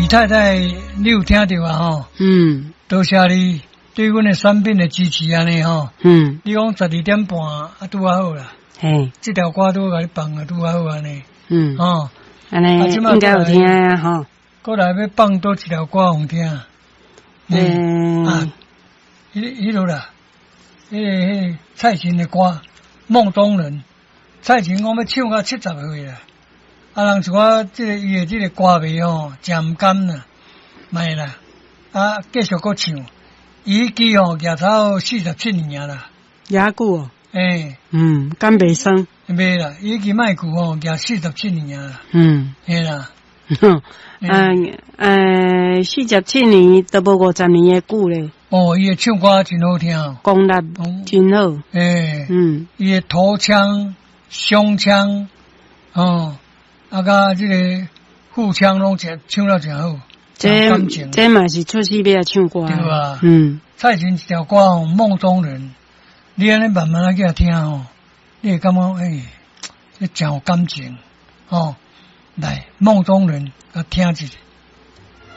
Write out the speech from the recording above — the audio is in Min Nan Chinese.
太太，你有聽著啊？吼，多謝你對阮的產品的支持按呢吼。你講12點半啊，拄仔好啦。這條歌拄共你放啊，拄仔好按呢。吼，按呢應該有聽啊，吼。過來欲放佗一條歌予聽。啊，彼彼落啦，彼個蔡琴的歌《夢中人》，蔡琴講欲唱到70歲啦。啊，人像我這個伊的這個歌迷吼，誠毋甘啦，莫啦，啊，繼續閣唱。伊彼支吼，舉頭47年啦。遐久哦。欸。敢袂酸？袂啦，伊支麥克吼，舉四十七年啦。嘿啦。嗯，47年都無50年的久咧。哦，伊的唱歌真好聽。功力真好。欸。伊的頭腔、胸腔，哦，啊，佮這个腹腔攏誠唱了誠好。這這嘛是出世尾唱歌。對啊。蔡琴一條歌吼，《夢中人》，你按呢慢慢仔去聽吼，你會感覺欸，這誠有感情，吼。來，《夢中人》共聽一下。